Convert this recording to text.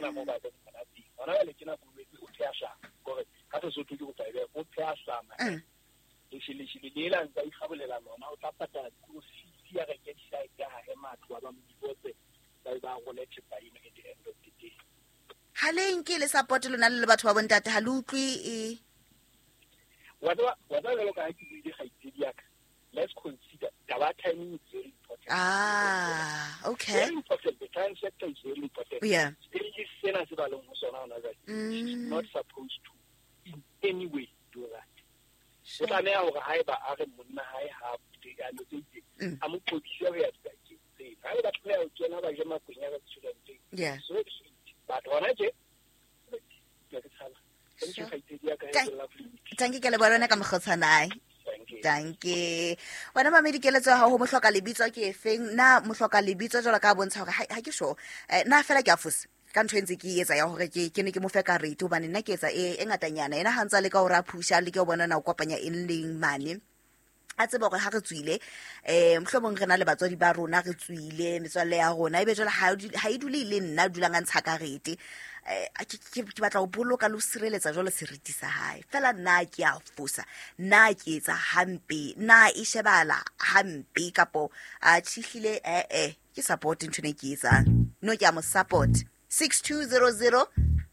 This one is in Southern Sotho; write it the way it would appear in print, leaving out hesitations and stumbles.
Mona mo ba leng hona teng. Hona jwale ke nako o pheha hlama. Kore ka Sesotho ke kopa ebe o pheha hlama. Lesheleshele le ela ntse a ikgabolela lona, o tla patala dikolo fees, a reke di-site, a hahe matlo, a ba mo divorce, ba be ba role thepa eno at the end of the day. Ha le nke le support lona le le batho ba bontate, ha le utlwe e? Wa tseba jwalo ka ha ke buile, kgaitsedi ya ka, let's consider taba ya timing is very important. Ah, okay. Very important. The time sector is very important. Stage sena se ba leng ho sona hona jwale, she's not supposed to in any way do that. O tlameha hore haeba a re monna hae ha a lo tse itseng, a mo qobise ho ya dibakeng tseo. Ha ba tlameha ho kena ba je makwenya restauranteng. So be it. But hona tje, ke tshaba. Thank you, kgaitsedi ya ka, have a lovely week. Thank you, ke leboha lona ka mokgotshanae. Thank you. Thank you. Wena mamedi, keletso ya hao ho mohloka lebitso ke efeng? Na mohloka lebitso jwalo ka bontsha hore ha ke sure. Na fela ke a fosa ka ntho e ntse ke e etsa ya hore ke ne ke mo fe karete, hobane nna ke etsa e ngatanyana. Yena ha ntse a leka hore a phusha, a leke ho bona na o kopanya eng le eng mane. A tsebe hore ha re tswile, mohlomong re na le batswadi ba rona, re tswile metswalle ya rona, ebe jwale ha e dule e le nna dulang a ntsha karete. Ke batla ho boloka le ho sireletsa jwalo seriti sa hae. Fela nna ke a fosa, nna ke etsa hampe, nna e shebala hampe kapo a tjhihlile, ke support ntho ene ke etsang. No, ke a mo support. 6200